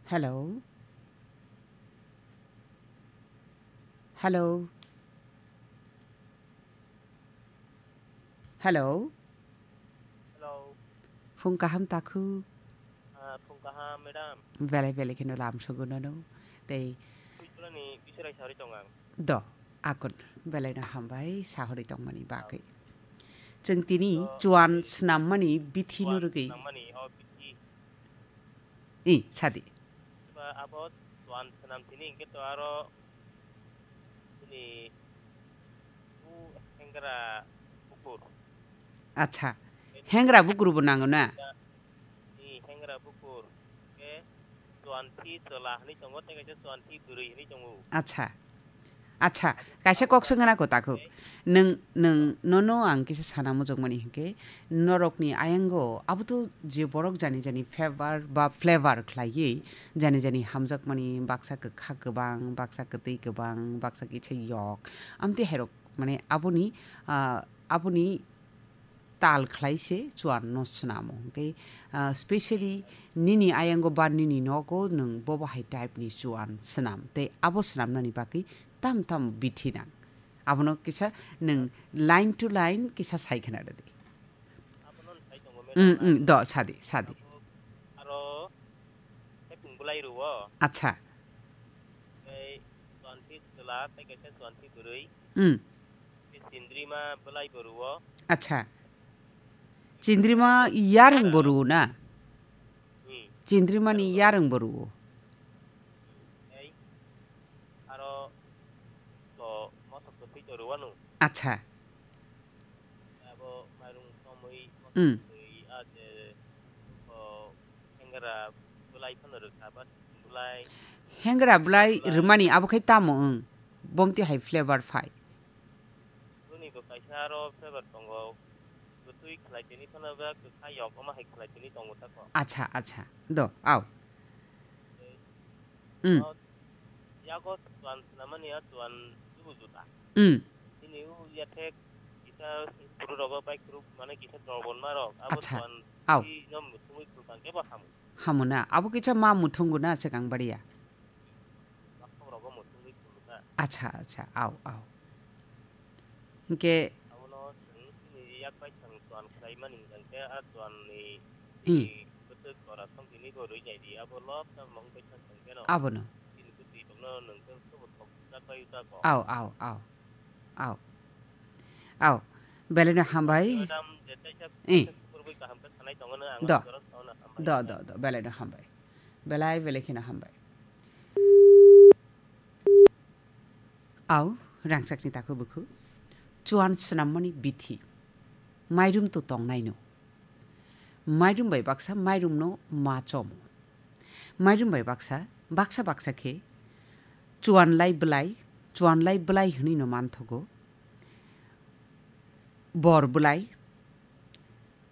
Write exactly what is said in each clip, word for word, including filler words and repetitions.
Hello. Hello. Hello. Hello. Phung kaham takhu. Ah, phung kaham, madam. Belai belai kheno lam sogo nono. Tei Puichulani Biswrai Sauri tong ang. Do, akon belai no hambai sahori tongmani bagwi. Chwng tini chuan swnammani bithi no rwgwi. Swnammani o bithi. I, sadi. Ba abo chuan swnam tini hwnkhe to aro bini u hengra bukur. Acha, hengra bukur bo nango na? I, hengra bukur. Hwnkhe chuan thi chwla hwnwi tongo, tei kaisa chuan thi bwrwi hwnwi tongo. Acha. Acha, kaisa kok swngna ko takhuk. Nwng, nwng, nono ang kisa sana mujokmani hinkhe, norokni ayango abo to je borok jani jani favor ba flavor khlaiwi, jani jani hamjakmani baksa kwkha kwbang, baksa kwtwi kwbang, baksa kisa yok. Amtwi hairok, mane, aboni, ah, aboni tal khlai se chuan no swnamo. Hwnkhe, ah, specially nini ayango ba nini nogo nwng bobo hai type ni chuan swnam. Tei abo swnamnani bagwi tam tam bithi nang. Abono kisa nwng line to line kisa sai khna rwdi. Abono sai tongo, mm, madam, mm, do, sadi, sadi. Abo aro hepung bwlai rwo. Acha. Tei chuan thi chwla, tei kaisa chuan thi bwrwi. Mm. Chindrima bwlai bo rwo. Acha. Chindrima yarwng bo rwo na? Hmm. Chindrima ni yarwng bo rwo. Tei aro to mosok to twi to rwanu. Acha. Abo mairung tomwi, hmm, mosok twi a je, o, hengra bwlai phano rwkha ba bwlai. Hengra bwlai bwlai rwmani abo khai tamo wng? Bomti hai flavor phai. Boni bo kaisa aro flavor tongo. Bwtwi khlai tini phano ba kwkha yok, omo hai khlai tini tongo tako. Acha, acha. Do, au. Mm. O, yago chuan swnamani a chuan chubu juta. Mm. Nini u yathek kisa buru rogo bai kuru mane kisa dorbon ma rok. Abo, acha, chuan, au, si nom thumui khulkang kebo hamu. Hamu na, abo kisa ma muthungu na swkang bariya. Bakhok rogo muthungwi khulka. Acha, acha, au, au. Hwnkhe abono chwng chini yak bai chwng chuan khlaimani hwnkhe a chuan ni, hmm, bwswk jora song tini bo rwi nai di, abo lobsa mung bai chwng chwng khe no. Abono. Chini bwtwi tongno nwng khe sobo thok jak bai jak bo. Au, au, au. Au. Au. Belai no hambai. Madam, je taisa, eh, taisa kukurwi kaham khe sanai tongo no, ang do, ang jora sauna hambai. Do, do, do. Belai no hambai. Belai belai kheno hambai. Au, rangchakni takhuk bukhu. Chuan swnammani bithi. Mairum to tongnaino. Mairum bai baksa mairumno ma chomo. Mairum bai baksa, baksa baksa khe chuan lai bwlai, chuan lai bwlai hwnwi no manthogo. Bor bwlai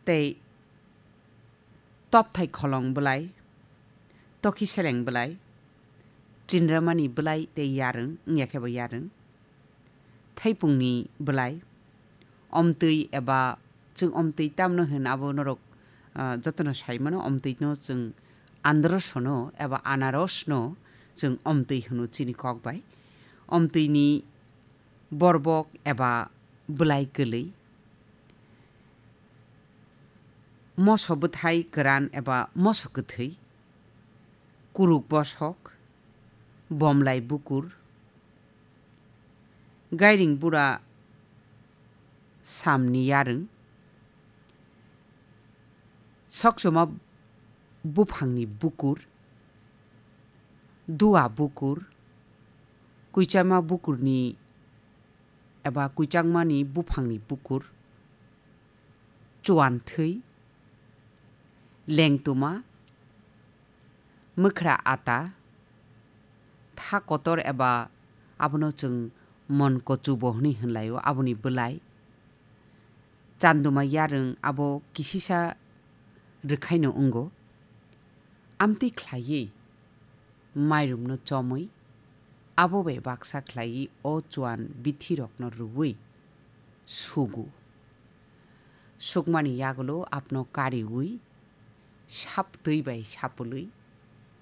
tei topthai kholong bwlai, tokhi seleng bwlai, chindramani bwlai tei yarwng, wngya khe bo yarwng, thaipungni bwlai, omtwi eba chwng omtwi tamno hwn abo norok, ah, jotono sai mano, omtwino chwng androsono eba anarosno chwng omtwi hwno chini kok bai. Omtwini borbok eba bwlai kwlwi, moso bwthai kwran eba moso kwthwi, kuruk bosok, bomlai bukur, gairing bura samni yarwng, sokchoma buphangni bukur, dua bukur, kuichama bukurni eba kuichangmani buphangni bukur, chuan thwi, lengtuma, mwkhra ata, tha kotor eba abono chwng mon kochubo hwnwi hwnlaio, aboni bwlai. Chanduma yarwng abo kisisa rwkhaino wngo. Amtwi khlaiwi mairumno chomwi, abo bai baksa khlaiwi o chuan bithirokno rwui sugo. Sukmani yagulo apno kariui, sap twi bai sapului